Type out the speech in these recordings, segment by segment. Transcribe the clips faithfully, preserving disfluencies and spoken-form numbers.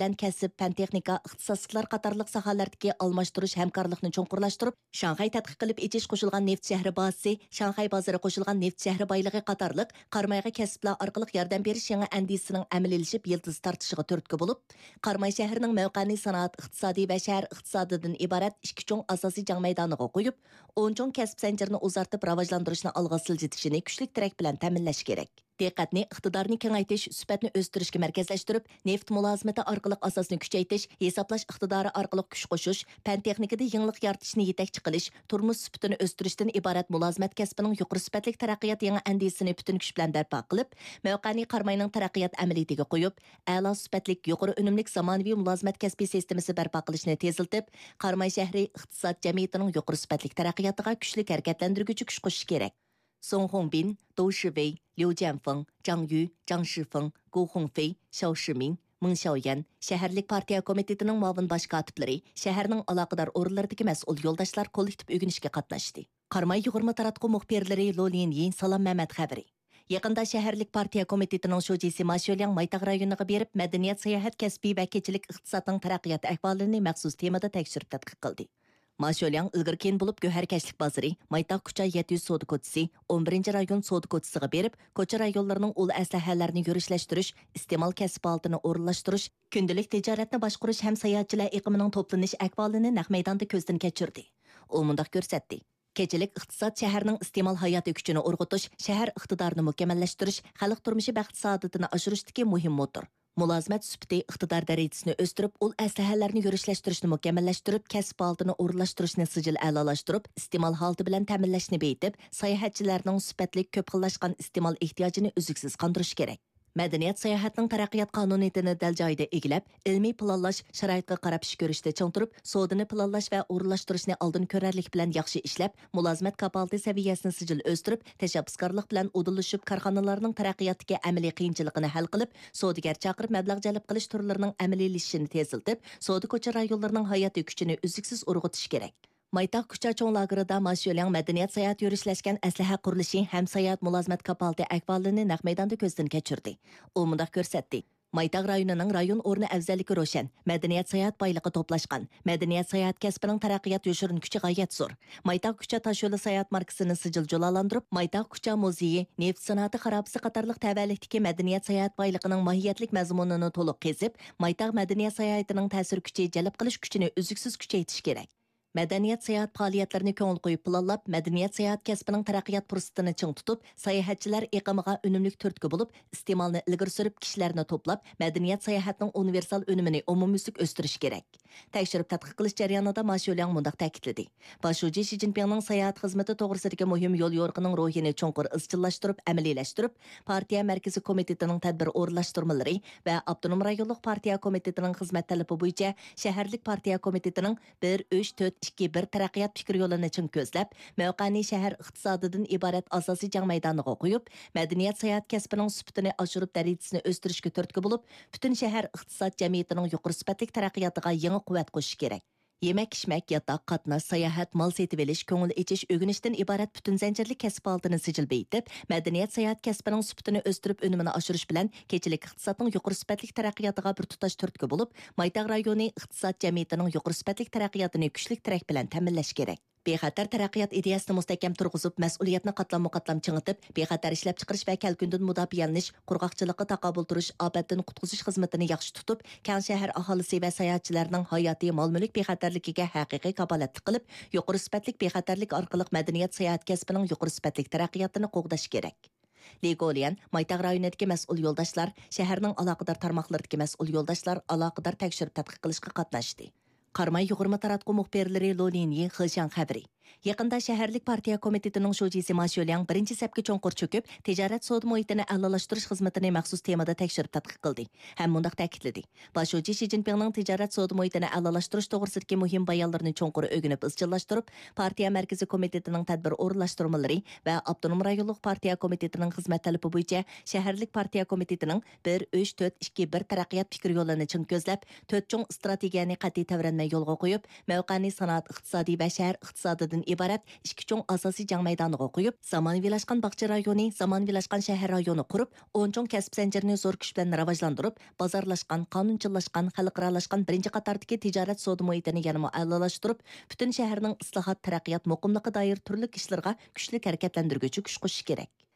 بىلەن كەسىپ، پەن-تېخنىكا، ئىختىساسلىقلار قاتارلىق ساھەلەردىكى ئالماشتۇرۇش ھەمكارلىقنى چوڭقۇرلاشتۇرۇپ، شاڭخەي تەتقىق قىلىپ ئېچىش قوشۇلغان نېفىت شەھىرى بازىسى، شاڭخەي بازىرى قوشۇلغان نېفىت شەھىرى بايلىقى قاتارلىق قارامايغا كەسىپلەر ئارقىلىق ياردەم بېرىش يېڭى ئەندىزىسىنىڭ ئەمەلىيلىشىپ يىلتىز تارتىشىغا تۈرتكە بولۇپ، قاراماي شەھىرىنىڭ مەۋقەنى سانائەت ئىقتىسادى ۋە شەھەر ئىقتىسادىدىن ئىبارەت ئىككى چوڭ ئاساسىي جەڭ مەيدانىغا قويۇپ، ئون چوڭ كەسىپ زەنجىرىنى ئۇزارتىپ راۋاجلاندۇرۇشنى ئالغا سىلجىتىشىنى كۈچلۈك تىرەك بىلەن تەمىنلەش كېرەك. دىققەتنى ئىقتىدارنى كېڭەيتىش، سۈپەتنى ئۆستۈرۈشكە مەركەزلەشتۈرۈپ، نېفىت مۇلازىمىتى ئارقىلىق ئاساسنى كۈچەيتىش، ھېسابلاش ئىقتىدارى ئارقىلىق كۈچ قوشۇش، پەن-تېخنىكىدا يېڭىلىق يارىتىشنى يېتەكچى قىلىش، تۇرمۇش سۈپىتىنى ئۆستۈرۈشتىن ئىبارەت مۇلازىمەت كەسپىنىڭ يۇقىرى سۈپەتلىك تەرەققىيات يېڭى ئەندىزىسىنى پۈتۈن كۈچ بىلەن بەرپا قىلىپ، مەۋقەنى قاراماينىڭ تەرەققىيات ئەمەلىيىتىگە قويۇپ، ئەلا سۈپەتلىك، يۇقىرى ئۈنۈملۈك زامانىۋى مۇلازىمەت كەسپىي سىستېمىسى بەرپا قىلىشنى تېزلىتىپ، قاراماي شەھىرى ئىقتىساد جەمئىيىتىنىڭ يۇقىرى سۈپەتلىك تەرەققىياتىغا كۈچلۈك ھەرىكەتلەندۈرگۈچى كۈچ قوشۇشى كېرەك. سۇڭ خۇڭبىن، دۇ شىۋېي، ليۇ جيەنفېڭ، جاڭ يۈ، جاڭ شىفېڭ، گۇ خۇڭفېي، شياۋ شىمىڭ، مېڭ شياۋيەن، شەھەرلىك پارتىيە كومىتېتىنىڭ مۇئاۋىن باش كاتىپلىرى، شەھەرنىڭ ئالاقىدار ئورۇنلىرىدىكى مەسئۇل يولداشلار كوللېكتىپ ئۆگىنىشكە قاتناشتى. قاراماي يۇغۇرما تاراتقۇ مۇخبىرلىرى لو لىنيىن، سالام مەمەت خەۋىرى. يېقىندا شەھەرلىك پارتىيە كومىتېتىنىڭ شۇجىسى ما شيولياڭ مايتاغ رايونىغا بېرىپ، مەدەنىيەت، ساياھەت، كەسپىي ۋە كېچىلىك ئىقتىسادنىڭ تەرەققىيات ئەھۋالىنى مەخسۇس تېمىدا تەكشۈرۈپ تەتقىق قىلدى. ما شيولياڭ ئىلگىرى كېيىن بولۇپ گۆھەركەشلىك بازىرى، مايتاغ كۇچا يەتتە يۈز سودا كوچىسى، ئون بىرىنچى رايون سودا كوچىسىغا بېرىپ، كوچا رايونلىرىنىڭ ئۇل ئەسلىھەلەرنى يۈرۈشلەشتۈرۈش، ئىستېمال كەسىپ ھالىتىنى ئورۇنلاشتۇرۇش، كۈندىلىك تىجارەتنى باشقۇرۇش ھەم ساياھەتچىلەر ئېقىمىنىڭ توپلىنىش ئەھۋالىنى نەق مەيداندا كۆزدىن كەچۈردى. ئۇ مۇنداق كۆرسەتتى. كېچىلىك ئىقتىساد شەھەرنىڭ ئىستېمال ھاياتىي كۈچىنى ئۇرغۇتۇش، شەھەر ئىقتىدارىنى مۇكەممەللەشتۈرۈش، خەلق تۇرمۇشى بەخت-سائادىتىنى ئاشۇرۇشتىكى مۇھىم موتور. مۇلازىمەت سۈپىتى، ئىقتىدار دەرىجىسىنى ئۆستۈرۈپ، ئۇل ئەسلىھەلەرنى يۈرۈشلەشتۈرۈشنى مۇكەممەللەشتۈرۈپ، كەسىپ ھالىتىنى ئورۇنلاشتۇرۇشنى سىجىل ئەلالاشتۇرۇپ، ئىستېمال ھالىتى بىلەن تەمىنلەشنى بېيىتىپ، ساياھەتچىلەرنىڭ سۈپەتلىك، كۆپ خىللاشقان ئىستېمال ئېھتىياجىنى ئۈزلۈكسىز قاندۇرۇش كېرەك. مەدەنىيەت ساياھەتنىڭ تەرەققىيات قانۇنىيىتىنى دەل جايىدا ئىگىلەپ، ئىلمىي پىلانلاش، شارائىتقا قاراپ ئىش كۆرۈشتە چىڭ تۇرۇپ، سودىنى پىلانلاش ۋە ئورۇنلاشتۇرۇشنى ئالدىن كۆرەرلىك بىلەن ياخشى ئىشلەپ، مۇلازىمەت كاپالىتى سەۋىيەسىنى سىجىل ئۆستۈرۈپ، تەشەببۇسكارلىق بىلەن ئۇدۇللىشىپ، كارخانىلارنىڭ تەرەققىياتتىكى ئەمەلىي قىيىنچىلىقىنى ھەل قىلىپ، سودىگەر چاقىرىپ مەبلەغ جەلپ قىلىش تۈرلىرىنىڭ ئەمەلىيلىشىشىنى تېزلىتىپ، سودا كوچا رايونلىرىنىڭ ھاياتىي كۈچىنى ئۈزلۈكسىز ئۇرغۇتۇش كېرەك. مايتاغ كۇچا چوڭ لاگېرىدا ما شيۆلياڭ مەدەنىيەت ساياھەت يۈرۈشلەشكەن ئەسلىھە قۇرۇلۇشى ھەم ساياھەت مۇلازىمەت كاپالىتى ئەھۋالىنى نەق مەيداندا كۆزدىن كەچۈردى. ئۇ مۇنداق كۆرسەتتى. مايتاغ رايونىنىڭ رايون ئورنى ئەۋزەللىكى روشەن، مەدەنىيەت ساياھەت بايلىقى توپلاشقان، مەدەنىيەت ساياھەت كەسپىنىڭ تەرەققىيات يوشۇرۇن كۈچى غايەت زور. مايتاغ كۇچا تاشيولى ساياھەت ماركىسىنى سىجىل جۇلالاندۇرۇپ، مايتاغ كۇچا مۇزېيى، نېفىت سانائىتى خارابىسى قاتارلىق تەۋەلىكتىكى مەدەنىيەت ساياھەت بايلىقىنىڭ ماھىيەتلىك مەزمۇنىنى تولۇق قېزىپ، مايتاغ مەدەنىيەت ساياھىتىنىڭ تەسىر كۈچى، جەلپ قىلىش كۈچىنى ئۈزلۈكسىز كۈچەيتىش كېرەك. مەدەنىيەت ساياھەت پائالىيەتلىرىنى كۆڭۈل قويۇپ پىلانلاپ، مەدەنىيەت ساياھەت كەسپىنىڭ تەرەققىيات پۇرسىتىنى چىڭ تۇتۇپ، ساياھەتچىلەر ئېقىمىغا ئۈنۈملۈك تۈرتكە بولۇپ، ئىستېمالنى ئىلگىرى سۈرۈپ، كىشىلەرنى توپلاپ، مەدەنىيەت ساياھەتنىڭ ئۇنىۋېرسال ئۈنۈمىنى ئومۇميۈزلۈك ئۆستۈرۈش كېرەك. تەكشۈرۈپ تەتقىق قىلىش جەريانىدا ما شيۆلياڭ مۇنداق تەكىتلىدى. باش شۇجى شى جىنپىڭنىڭ ساياھەت خىزمىتى توغرىسىدىكى مۇھىم يوليورۇقىنىڭ روھىنى چوڭقۇر ئىزچىللاشتۇرۇپ، ئەمەلىيلەشتۈرۈپ، پارتىيە مەركىزىي كومىتېتىنىڭ تەدبىر ئورۇنلاشتۇرمىلىرى ۋە ئاپتونوم رايونلۇق پارتىيە كومىتېتىنىڭ خىزمەت تەلىپى بويىچە شەھەرلىك پارتىيە كومىتېتىنىڭ بىر، ئۈچ، تۆت، ئىككى، بىر تەرەققىيات پىكىر يولىنى چىڭ كۆزلەپ، مەۋقەنى شەھەر ئىقتىسادىدىن ئىبارەت ئاساسىي جەڭ مەيدانىغا قويۇپ، مەدەنىيەت ساياھەت كەسپىنىڭ سۈپىتىنى ئاشۇرۇپ، دەرىجىسىنى ئۆستۈرۈشكە تۈرتكە بولۇپ، پۈتۈن شەھەر ئىقتىساد جەمئىيىتىنىڭ يۇقىرى سۈپەتلىك تەرەققىياتىغا يېڭى قۇۋۋەت قوشۇش كېرەك. يېمەك-ئىچمەك، ياتاق، قاتناش، ساياھەت، مال سېتىۋېلىش، كۆڭۈل ئېچىش، ئۆگىنىشتىن ئىبارەت پۈتۈن زەنجىرلىك كەسىپ پائالىيىتىنى سىجىل بېيىتىپ، مەدەنىيەت ساياھەت كەسپىنىڭ سۈپىتىنى ئۆستۈرۈپ، ئۈنۈمىنى ئاشۇرۇش بىلەن كېچىلىك ئىقتىسادنىڭ يۇقىرى سۈپەتلىك تەرەققىياتىغا بىر تۇتاش تۈرتكە بولۇپ، مايتاغ رايونى ئىقتىساد جەمئىيىتىنىڭ يۇقىرى سۈپەتلىك تەرەققىياتىنى كۈچلۈك تىرەك بىلەن تەمىنلەش كېرەك. بىخەتەر تەرەققىيات ئىدىيەسىنى مۇستەھكەم تۇرغۇزۇپ، مەسئۇلىيەتنى قاتلاممۇ قاتلام چىڭىتىپ، بىخەتەر ئىشلەپچىقىرىش ۋە كەلكۈندىن مۇداپىئەلىنىش، قۇرغاقچىلىققا تاقابىل تۇرۇش، ئاپەتتىن قۇتقۇزۇش خىزمىتىنى ياخشى تۇتۇپ، كەڭ شەھەر ئاھالىسى ۋە ساياھەتچىلەرنىڭ ھاياتىي، مال-مۈلۈك بىخەتەرلىكىگە ھەقىقىي كاپالەتلىك قىلىپ، يۇقىرى سۈپەتلىك بىخەتەرلىك ئارقىلىق مەدەنىيەت ساياھەت كەسپىنىڭ يۇقىرى سۈپەتلىك تەرەققىياتىنى قوغداش كېرەك. لى گوليەن، مايتاغ رايونىدىكى مەسئۇل يولداشلار، شەھەرنىڭ ئالاقىدار تارماقلىرىدىكى مەسئۇل يولداشلار ئالاقىدار تەكشۈرۈپ تەتقىق قىلىشقا قاتناشتى. قاراماي يۇغۇرما تاراتقۇ مۇخبىرلىرى لو لىنيى، خېشياڭ خەۋىرى. يېقىندا شەھەرلىك پارتىيە كومىتېتىنىڭ شۇجىسى ما شيۆلياڭ بىرىنچى سەپكە چوڭقۇر چۆكۈپ، تىجارەت سودا مۇھىتىنى ئەلالاشتۇرۇش خىزمىتىنى مەخسۇس تېمىدا تەكشۈرۈپ تەتقىق قىلدى ھەم مۇنداق تەكىتلىدى. باش شۇجى شى جىنپىڭنىڭ تىجارەت سودا مۇھىتىنى ئەلالاشتۇرۇش توغرىسىدىكى مۇھىم بايانلىرىنى چوڭقۇر ئۆگىنىپ ئىزچىللاشتۇرۇپ، پارتىيە مەركىزىي كومىتېتىنىڭ تەدبىر ئورۇنلاشتۇرمىلىرى ۋە ئاپتونوم رايونلۇق پارتىيە كومىتېتىنىڭ خىزمەت تەلىپى بويىچە شەھەرلىك پارتىيە كومىتېتىنىڭ بىر، ئۈچ، تۆت، ئىككى، بىر تەرەققىيات پىكىر يولىنى چىڭ كۆزلەپ، تۆت چوڭ ئىستراتېگىيەنى قەتئىي تەۋرەنمەي يولغا قويۇپ، مەۋقەنى سانائەت ئىقتىسادى ۋە شەھەر ئىقتىسادىدىن ئىبارەت ئىككى چوڭ ئاساسىي جەڭ مەيدانىغا قويۇپ، زامانىۋىلاشقان باغچە رايونى، زامانىۋىلاشقان شەھەر رايونى قۇرۇپ، ئون چوڭ كەسىپ زەنجىرىنى زور كۈچ بىلەن راۋاجلاندۇرۇپ، بازارلاشقان، قانۇنچىللاشقان، خەلقئارالاشقان بىرىنچى قاتاردىكى تىجارەت سودا مۇھىتىنى يەنىمۇ ئەلالاشتۇرۇپ، پۈتۈن شەھەرنىڭ ئىسلاھات، تەرەققىيات، مۇقىملىققا دائىر تۈرلۈك ئىشلىرىغا كۈچلۈك ھەرىكەتلەندۈرگۈچى كۈچ قوشۇش كېرەك.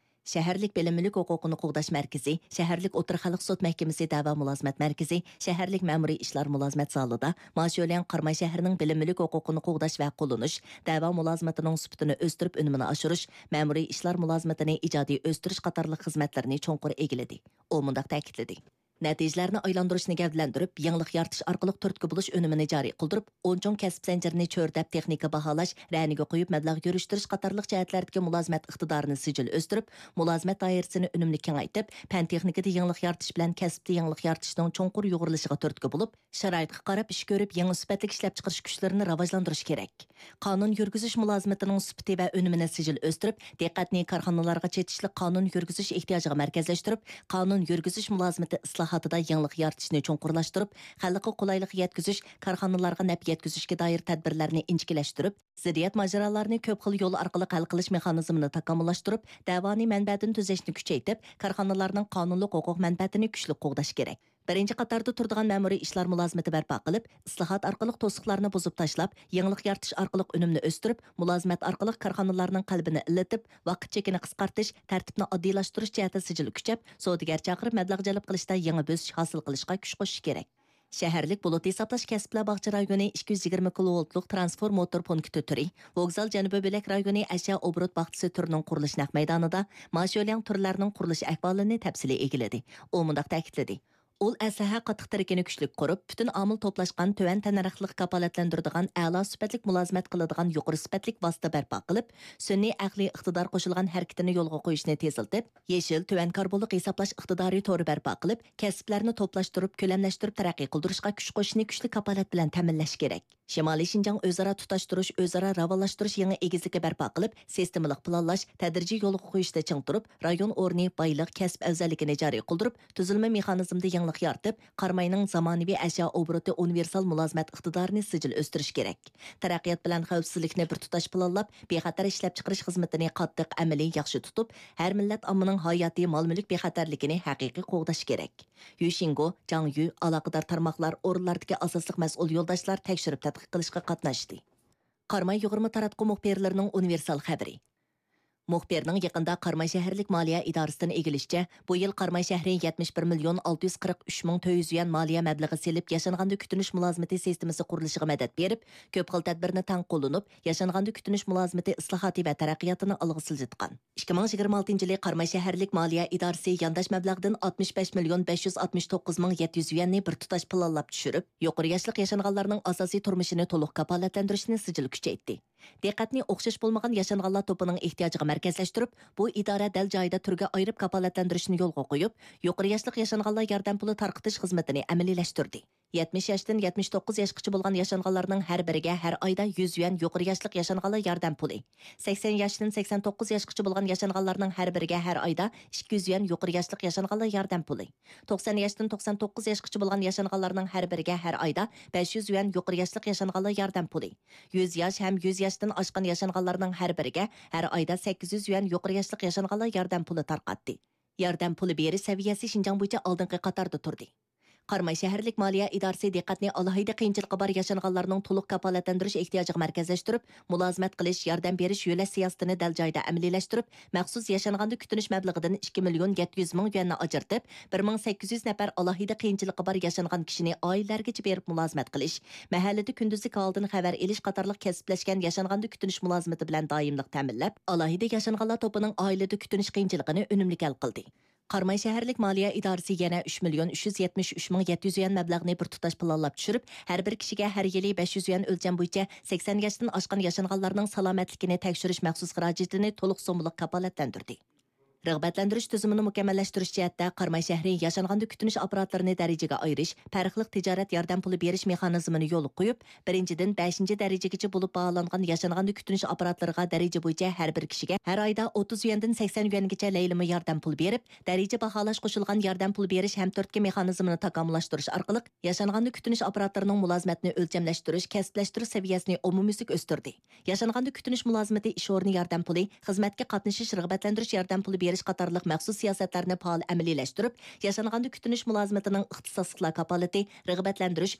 شەھەرلىك بىلىم مۈلۈك ھوقۇقىنى قوغداش مەركىزى، شەھەرلىك ئوتتۇرا خەلق سوت مەھكىمىسى دەۋا مۇلازىمەت مەركىزى، شەھەرلىك مەمۇرىي ئىشلار مۇلازىمەت زالىدا ما شيولياڭ قاراماي شەھىرىنىڭ بىلىم مۈلۈك ھوقۇقىنى قوغداش ۋە قوللىنىش، دەۋا مۇلازىمىتىنىڭ سۈپىتىنى ئۆستۈرۈپ، ئۈنۈمىنى ئاشۇرۇش، مەمۇرىي ئىشلار مۇلازىمىتىنى ئىجادىي ئۆستۈرۈش قاتارلىق خىزمەتلىرىنى چوڭقۇر ئىگىلىدى. ئۇ مۇنداق تەكىتلىدى. نەتىجىلەرنى ئايلاندۇرۇشنى گەۋدىلەندۈرۈپ، يېڭىلىق يارىتىش ئارقىلىق تۈرتكە بولۇش ئۈنۈمىنى جارى قىلدۇرۇپ، ئون چوڭ كەسىپ زەنجىرىنى چۆرىدەپ، تېخنىكا باھالاش، رەنىگە قويۇپ، مەبلەغ يۈرۈشتۈرۈش قاتارلىق جەھەتلەردىكى مۇلازىمەت ئىقتىدارىنى سىجىل ئۆستۈرۈپ، مۇلازىمەت دائىرىسىنى ئۈنۈملۈك كېڭەيتىپ، پەن تېخنىكىدا يېڭىلىق يارىتىش بىلەن كەسىپتە يېڭىلىق يارىتىشنىڭ چوڭقۇر يۇغۇرۇلۇشىغا تۈرتكە بولۇپ، شارائىتقا قاراپ ئىش كۆرۈپ، يېڭى سۈپەتلىك ئىشلەپچىقىرىش كۈچلىرىنى راۋاجلاندۇرۇش كېرەك. قانۇن يۈرگۈزۈش مۇلازىمىتىنىڭ سۈپىتى ۋە ئۈنۈمىنى سىجىل ئۆستۈرۈپ، دىققەتنى كارخانىلارغا چېتىشلىق قانۇن يۈرگۈزۈش ئېھتىياجىغا مەركەزلەشتۈرۈپ، قانۇن يۈرگۈزۈش مۇلازىمىتى ئىسلاھاتىدا يېڭىلىق يارىتىشنى چوڭقۇرلاشتۇرۇپ، خەلققە قولايلىق يەتكۈزۈش، كارخانىلارغا نەپ يەتكۈزۈشكە دائىر تەدبىرلەرنى ئىنچىكىلەشتۈرۈپ، زىددىيەت ماجىرالارنى كۆپ خىل يول ئارقىلىق ھەل قىلىش مېخانىزمىنى تاكامۇللاشتۇرۇپ، دەۋانى مەنبەدىن تۈزەشنى كۈچەيتىپ، كارخانىلارنىڭ قانۇنلۇق ھوقۇق مەنپەئەتىنى كۈچلۈك قوغداش كېرەك. بىرىنچى قاتاردا تۇرىدىغان مەمۇرىي ئىشلار مۇلازىمىتى بەرپا قىلىپ، ئىسلاھات ئارقىلىق توسۇقلارنى بۇزۇپ تاشلاپ، يېڭىلىق يارىتىش ئارقىلىق ئۈنۈمنى ئۆستۈرۈپ، مۇلازىمەت ئارقىلىق كارخانىلارنىڭ قەلبىنى ئىللىتىپ، ۋاقىت چېكىنى قىسقارتىش، تەرتىپنى ئاددىيلاشتۇرۇش جەھەتتە سىجىل كۈچەپ، سودىگەر چاقىرىپ مەبلەغ جەلپ قىلىشتا يېڭى بۆسۈش ھاسىل قىلىشقا كۈچ قوشۇش كېرەك. شەھەرلىك بۇلۇت ھېسابلاش كەسىپلەر باغچە رايونى ئىككى يۈز يىگىرمە كىلوۋولتلۇق ترانسفورماتور پونكىتى تۈرى، ۋوگزال جەنۇبى بۆلەك رايونى ئەشيا ئوبوروت باغچىسى تۈرىنىڭ قۇرۇلۇش نەق مەيدانىدا ما شيولياڭ تۈرلەرنىڭ قۇرۇلۇش ئەھۋالىنى تەپسىلىي ئىگىلىدى. ئۇ مۇنداق تەكىتلىدى. ئۇل ئەسلىھە قاتتىق تىرىكىنى كۈچلۈك قۇرۇپ، پۈتۈن ئامىل توپلاشقان تۆۋەن تەننەرخلىق كاپالەتلەندۈرىدىغان ئەلا سۈپەتلىك مۇلازىمەت قىلىدىغان يۇقىرى سۈپەتلىك ۋاسىتە بەرپا قىلىپ، سۈنئىي ئەقلىي ئىقتىدار قوشۇلغان ھەرىكىتىنى يولغا قويۇشنى تېزلىتىپ، يېشىل، تۆۋەن كاربونلۇق ھېسابلاش ئىقتىدارى تورى بەرپا قىلىپ، كەسىپلەرنى توپلاشتۇرۇپ، كۆلەملەشتۈرۈپ تەرەققىي قىلدۇرۇشقا كۈچ قوشۇشنى كۈچلۈك كاپالەت بىلەن تەمىنلەش كېرەك. شىمالىي شىنجاڭ ئۆزئارا تۇتاشتۇرۇش، ئۆزئارا راۋانلاشتۇرۇش يېڭى ئېگىزلىكى بەرپا قىلىپ، سىستېمىلىق پىلانلاش، تەدرىجىي يولغا قويۇشتا چىڭ تۇرۇپ، رايون ئورنى، بايلىق، كەسىپ ئەۋزەللىكىنى جارى قىلدۇرۇپ، تۈزۈلمە مېخانىزمىدا يېڭىلىق يارىتىپ، قاراماينىڭ زامانىۋى ئەشيا ئوبوروتى ئۇنىۋېرسال مۇلازىمەت ئىقتىدارىنى سىجىل ئۆستۈرۈش كېرەك. تەرەققىيات بىلەن خەۋپسىزلىكنى بىر تۇتاش پىلانلاپ، بىخەتەر ئىشلەپچىقىرىش خىزمىتىنى قاتتىق ئەمەلىي ياخشى تۇتۇپ، ھەر مىللەت ئاممىنىڭ ھاياتىي مال-مۈلۈك بىخەتەرلىكىنى ھەقىقىي قوغداش كېرەك. يۈشىنگو، جاڭيۈ، ئالاقىدار تارماقلار، ئورۇنلاردىكى ئاساسلىق مەسئۇل يولداشلار تەكشۈرۈپ تەتقىق قىلىشقا قاتناشتى. قاراماي يۇغۇرما تاراتقۇ مۇخبىرلىرىنىڭ ئۇنىۋېرسال خەۋىرى. مۇخبىرنىڭ يېقىندا قاراماي شەھەرلىك مالىيە ئىدارىسىدىن ئىگىلىشىچە، بۇ يىل قاراماي شەھىرى يەتمىش بىر مىليون ئالتە يۈز قىرىق ئۈچ مىڭ تۆت يۈز يۈەن مالىيە مەبلىغى سېلىپ، ياشانغاندا كۈتۈنۈش مۇلازىمىتى سىستېمىسى قۇرۇلۇشىغا مەدەت بېرىپ، كۆپ خىل تەدبىرنى تەڭ قوللىنىپ، ياشانغاندا كۈتۈنۈش مۇلازىمىتى ئىسلاھاتى ۋە تەرەققىياتىنى ئالغا سىلجىتقان. ئىككى مىڭ يىگىرمە ئالتىنچى يىلى قاراماي شەھەرلىك مالىيە ئىدارىسى يانداش مەبلەغدىن ئاتمىش بەش مىليون بەش يۈز ئاتمىش توققۇز مىڭ يەتتە يۈز يۈەننى بىر تۇتاش پىلانلاپ چۈشۈرۈپ، يۇقىرى ياشلىق ياشانغانلارنىڭ ئاساسىي تۇرمۇشىنى تولۇق كاپالەتلەندۈرۈشنى سىجىل كۈچەيتتى. دىققەتنى ئوخشاش بولمىغان ياشانغانلار توپىنىڭ ئېھتىياجىغا مەركەزلەشتۈرۈپ، بۇ ئىدارە دەل جايىدا تۈرگە ئايرىپ كاپالەتلەندۈرۈشنى يولغا قويۇپ، يۇقىرى ياشلىق ياشانغانلار ياردەم پۇلى تارقىتىش خىزمىتىنى ئەمەلىيلەشتۈردى. يەتمىش ياشتىن يەتمىش توققۇز ياشقىچە بولغان ياشانغانلارنىڭ ھەر بىرىگە ھەر ئايدا يۈز يۈەن يۇقىرى ياشلىق ياشانغانلار ياردەم پۇلى، سەكسەن ياشتىن سەكسەن توققۇز ياشقىچە بولغان ياشانغانلارنىڭ ھەر بىرىگە ھەر ئايدا ئىككى يۈز يۈەن يۇقىرى ياشلىق ياشانغانلار ياردەم پۇلى، توقسان ياشتىن توقسان توققۇز ياشقىچە بولغان ياشانغانلارنىڭ ھەر بىرىگە ھەر ئايدا بەش يۈز يۈەن يۇقىرى ياشلىق ياشانغانلار ياردەم پۇلى، يۈز ياش ھەم يۈز ياشتىن ئاشقان ياشانغانلارنىڭ ھەر بىرىگە ھەر ئايدا سەككىز يۈز يۈەن يۇقىرى ياشلىق ياشانغانلار ياردەم پۇلى تارقاتتى. ياردەم پۇلى بېرىش سەۋىيەسى شىنجاڭ بويىچە ئالدىنقى قاتاردا تۇردى. قاراماي شەھەرلىك مالىيە ئىدارىسى دىققەتنى ئالاھىدە قىيىنچىلىقى بار ياشانغانلارنىڭ تولۇق كاپالەتلەندۈرۈش ئېھتىياجىغا مەركەزلەشتۈرۈپ، مۇلازىمەت قىلىش، ياردەم بېرىش يۆلەش سىياسىتىنى دەل جايىدا ئەمەلىيلەشتۈرۈپ، مەخسۇس ياشانغاندا كۈتۈنۈش مەبلىغىدىن ئىككى مىليون يەتتە يۈز مىڭ يۈەننى ئاجرىتىپ، بىر مىڭ سەككىز يۈز نەپەر ئالاھىدە قىيىنچىلىقى بار ياشانغان كىشىنى ئائىلىلەرگىچە بېرىپ مۇلازىمەت قىلىش، مەھەللىدە كۈندۈزلۈك ھالدىن خەۋەر ئېلىش قاتارلىق كەسىپلەشكەن ياشانغاندا كۈتۈنۈش مۇلازىمىتى بىلەن دائىملىق تەمىنلەپ، ئالاھىدە ياشانغانلار توپىنىڭ ئائىلىدە كۈتۈنۈش قىيىنچىلىقىنى ئۈنۈملۈك ھەل قىلدى. قاراماي شەھەرلىك مالىيە ئىدارىسى يەنە ئۈچ مىليون ئۈچ يۈز يەتمىش ئۈچ مىڭ يەتتە يۈز يۈەن مەبلەغنى بىر تۇتاش پىلانلاپ چۈشۈرۈپ، ھەر بىر كىشىگە ھەر يىلى بەش يۈز يۈەن ئۆلچەم بويىچە سەكسەن ياشتىن ئاشقان ياشانغانلارنىڭ سالامەتلىكىنى تەكشۈرۈش مەخسۇس خىراجىتىنى تولۇق سوممىلىق كاپالەتلەندۈردى. رىغبەتلەندۈرۈش تۈزۈمىنى مۇكەممەللەشتۈرۈش جەھەتتە قاراماي شەھىرى ياشانغاندا كۈتۈنۈش ئاپپاراتلىرىنى دەرىجىگە ئايرىش، پەرقلىق تىجارەت ياردەم پۇلى بېرىش مېخانىزمىنى يولغا قويۇپ، بىرىنچىدىن، بەشىنچى دەرىجىگىچە بولۇپ باھالانغان ياشانغاندا كۈتۈنۈش ئاپپاراتلىرىغا دەرىجە بويىچە ھەر بىر كىشىگە ھەر ئايدا ئوتتۇز يۈەندىن سەكسەن يۈەنگىچە لەيلىمە ياردەم پۇلى بېرىپ، دەرىجە باھالاش قوشۇلغان ياردەم پۇلى بېرىش ھەمتۈرتكە مېخانىزمىنى تاكامۇللاشتۇرۇش ئارقىلىق، ياشانغاندا كۈتۈنۈش ئاپپاراتلىرىنىڭ مۇلازىمەتنى ئۆلچەملەشتۈرۈش، كەسىپلەشتۈرۈش سەۋىيەسىنى ئومۇميۈزلۈك ئۆستۈردى. ياشانغاندا كۈتۈنۈش مۇلازىمىتى ئىش ئورنى ياردەم پۇلى، خىزمەتكە قاتنىشىش رىغبەتلەندۈرۈش ياردەم پۇلى بېرىش قاتارلىق مەخسۇس سىياسەتلەرنى پائال ئەمەلىيلەشتۈرۈپ، ياشانغاندا كۈتۈنۈش مۇلازىمىتىنىڭ ئىختىساسلىقلار كاپالىتى، رىغبەتلەندۈرۈش،